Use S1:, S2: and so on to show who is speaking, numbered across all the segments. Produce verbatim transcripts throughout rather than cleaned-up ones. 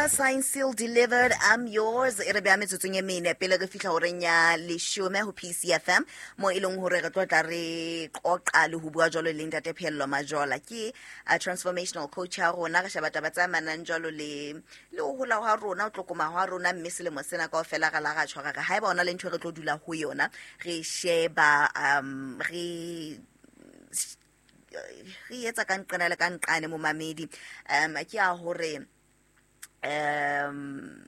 S1: Miller, signed, sealed, delivered, I'm yours. E re beha metsotsong e mene pele re fihla horeng ya leshome ho P C F M, mo e leng hore re tlo tla re qoqa le ho bua jwalo le Ntate Pheello Majola, ke a transformational coach ya rona. Re sheba taba tse amanang jwalo le le ho hola hwa rona, ho tlokoma hwa rona, mme selemo sena kaofela re la ra tshwara re haeba ona le ntho e re tlo dula ho yona, re sheba um re re etsa ka nqena le ka nqane. Momamedi, um ke a hore um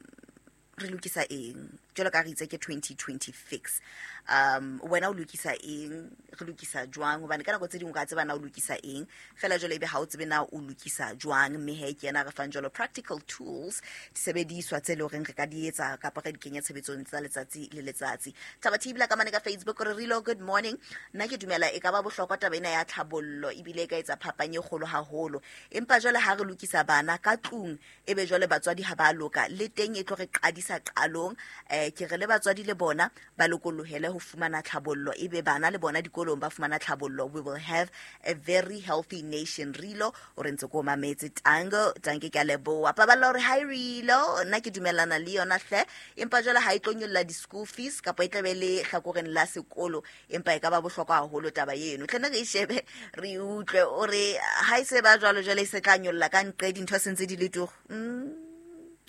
S1: re lokisa eng jwalo ka re itse ke twenty twenty fix. um wena o lokisa eng? Re lokisa jwang? Hobane ka nako tse dingwe o ka tseba na o lokisa eng fela, jwale ebe ha o tsebe na o lokisa jwang. Mme he, ke yena re fang jwalo practical tools, disebediswa tse leng horeng re ka di etsa kapa re di kenya tshebetsong tsa letsatsi le letsatsi. Thaba Thibela ka mane ka Facebook re rilo, "Good morning. Nna ke dumela e ka ba bohlokwa taba ena ya tlhabollo, ebile e ka etsa phapang e kgolo haholo. Empa jwale ha re lokisa bana ka tlung, ebe jwale batswadi ha ba loka le teng, e tlo re qadisa qalong. um ke re le batswadi le bona ba lokolohele ho fumana tlhabollo, ebe bana le bona dikolong ba fumana tlhabollo. We will have a very healthy nation." Rilo o re ntse ko mametse. Tango tanke, ke a leboha. Paballa hore hi Rilo, "Nna ke dumellana le yona hle, empa jwale ha e tlo nyolla di-school fees kapa e tlabe le hlakoreng la sekolo, empa e ka ba bohlokwa haholo taba eno. Tlene re e shebe, re utlwe." O re ha e se ba jwalo, jwale e se tla nyolla ka nqe, dintho se ntse di le turu. Mm,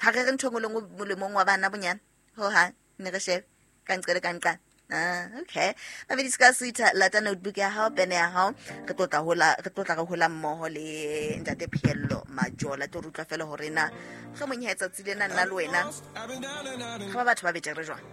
S1: ha re re ntho e nngwe le nngwe molemong wa bana bonyane hohang, ne re shebe ka nqe le ka nqane. Ah, okay, mamedi, se ka sutha, lata notebook ya hao, pene ya hao, re tlo tla hola, re tlo tla re hola mmoho le Ntate Pheello Majola. Tlo re utlwa fela hore na mohlomong he tsatsi lena nna le wena re ba batho ba betere jwang.